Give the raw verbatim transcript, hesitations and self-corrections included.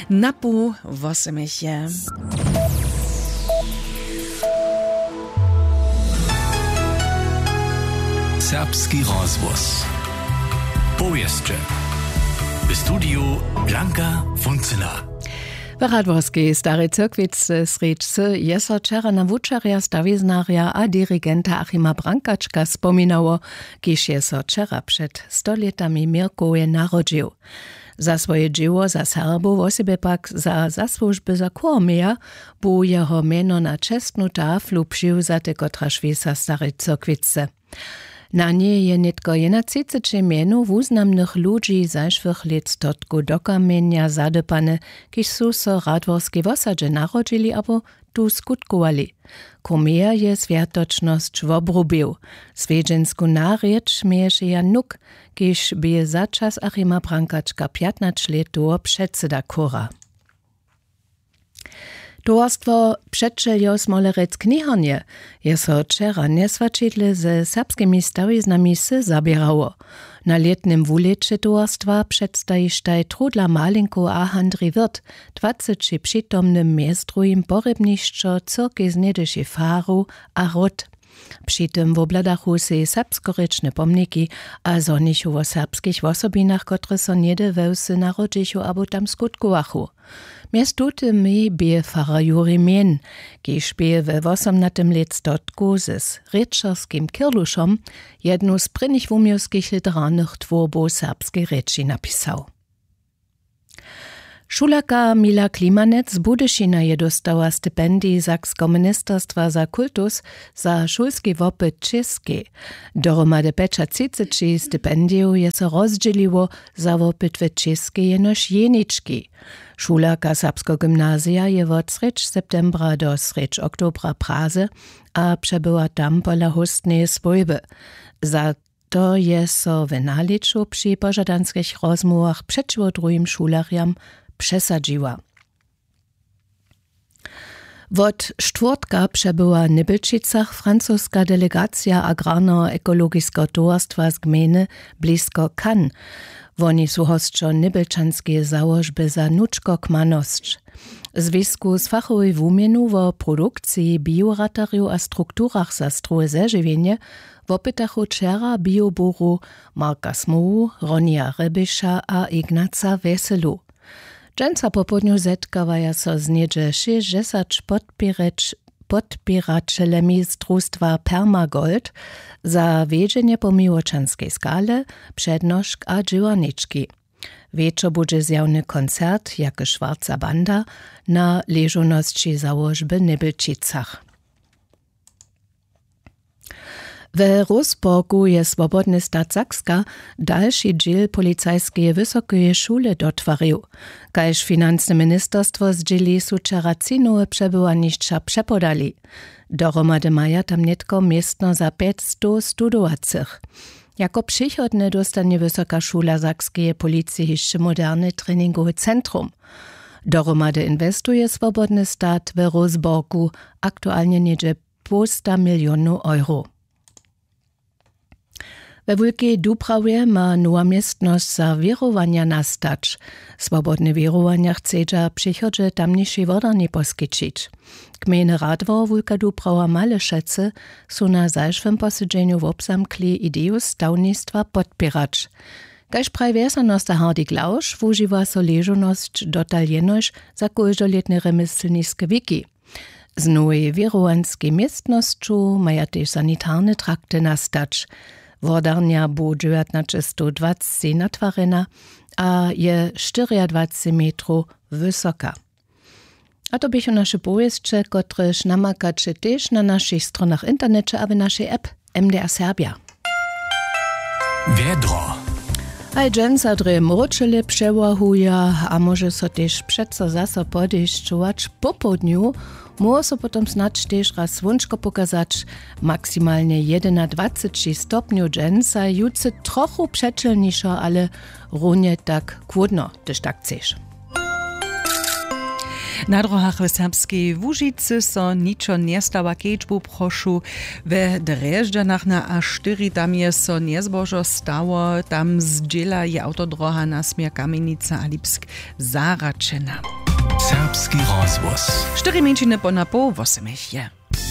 Na pół wosomich je. Serbski rozhłos. Powěsće. W studiju Blanka Funcyna. W radworskej Starej Cyrkwicy srjedźcy je so wčera na wučerja, stawiznarja a dirigenta Achima Brankačka spominało, kiž je so wčera před stolětami w Měrkowje narodźił. Za swoje dźěło za Serbow, wosebje pak za zasłužby za chór Meja, bu jeho mjeno na čestnu taflu přiwzaty, kotraž wěsa w Starej Cyrkwicy. Na njej je nětko jednatřiceći mjenow wuznamnych ludźi zašłych lět stotkow do kamjenja zadypane, kiž su so w radworskej wosadźe narodźili abo tu skutkowali. Chór Meja je swjatočnosć wobrubił. Swjedźensku narěč měješe Jan Nuk, kiž bě za čas Achima Brankačka pjatnaće lět dołho předsyda chóra. Towarstwo přećeljow Smolerec-Kniharnje je so wčera njeswaćidle ze serbskimi stawiznami wsy zaběrało. Na lětnym wulěće towarstwa předstajištaj Trudla Malinkow a Handrij Wirth dwaceći přitomnym mjez druhim porjebnišćo cyrkej z něhdyšej faru a hród. Při tym wobhladachu sej serbskorěčne pomniki a zhonichu wo serbskich wosobinach, kotrež so něhdy we wsy narodźichu abo tam skutkowachu. Mjez tutymi bě farar Jurij Mehn, kiž bě we wosomnatym lětstotku z rěčerskim Kirlušom jednu z prěnich wuměłskich literarnych twórbow w serbskej rěči napisał. Šulerka Mila Klimanec z Budyšina je dóstała stipendij Sakskeho ministerstwa za kultus za šulski wopyt w Čěskej. Dohromady pjećatřiceći stipendijow je so rozdźěliło za wopyt w Čěskej jenož jenički. Šulerka Serbskeho gymnazija je wot srjedź septembra do srjedź oktobra w Praze a přebywa tam pola hóstneje swójby. Za to je so w nalěću při požadanskich rozmołwach přećiwo druhim šulerjam přesadźiła. Wot štwórtka přebywa w Nybjelčicach francoska delegacija agrarneho ekologiskeho towarstwa z gmejny blisko Cannes. Woni su hosćo nybjelčanskeje załožby za nučkokmanosć. W zwisku z fachowej wuměnu wo produkciji bioratarjow a strukturach za strowe zežiwjenje wopytachu wčera bioburow Marka Smołu, Ronija Rebiša a Ignaca Weselu. Dźensa popołdnju zetkawaja so z něhdźe šěsćdźesać podpěreć-, podpěraćelemi z drustwa Permagold za wjedźenje po miłočanskej skale, přednošk a dźěłarnički. Wječor budźe zjawny koncert Jake Schwarza Banda na ležownosći załožby w Nybjelčicach. We Roseburgu je Swobodny stat Sakska dalši dźěl policajskeje wysokeje šule dotwarił. Kaž financne ministerstwo zdźěli, su wčera tři nowe přebywanišća přepodali. Dohromady maja tam nětko městno za pjećstow studowacych. Jako přichodne dóstanje Wysoka šula sakskeje policije hišće moderne treningowe centrum. Dohromady inwestuje Swobodny stat we Roseburgu aktualnje něhdźe połsta milionow euro. We Wulkej Dubrawje ma nowa městnosć za wěrowanja nastać. Swobodne wěrowanja chcedźa w přichodźe tamnišej wodarni poskićić. Gmejny radwor Wulka Dubrawa Malešecy su na zašłym posedźenju wobzamkli ideju stawnistwa podpěrać. Kaž praji wjesnjanosta Hardy Glausch, wužiwa so ležownosć dotal jenož za kóždolětne rjemjeslniske wiki. Z nowej wěrowanskej městnosću maja tež sanitarne trakty nastać. Wodarnja bu dźewjatnaćestowdwaceći natwarjena a je štyriadwaceći metrow wysoka. A to běchu naše powěsće, kotrež namakaće tež na našich stronach w interneće a w našej app M D R Serbja. Wjedro. Haj, dźensa drje mróčele přewahuja a móže so tež přeco zaso podešćować. Popołdnju móhło so potom snadź tež raz słónčko pokazać. Maksimalnje jedynadwaceći stopnjow dźensa, jutře trochu přećelnišo, ale runje tak chłódno, hdyž tak chceš. Na dróhach w Serbskej Łužicy so ničo njestawa, kedźbu prošu. We Drježdźanach na A štyri, tam je so njezbožo stało, tam zdźěla je awtodróha na směr Kamjenica a Lipsk zahraćena. Serbski rozhłos. Štyri mjeńšiny po na poł wosomich je.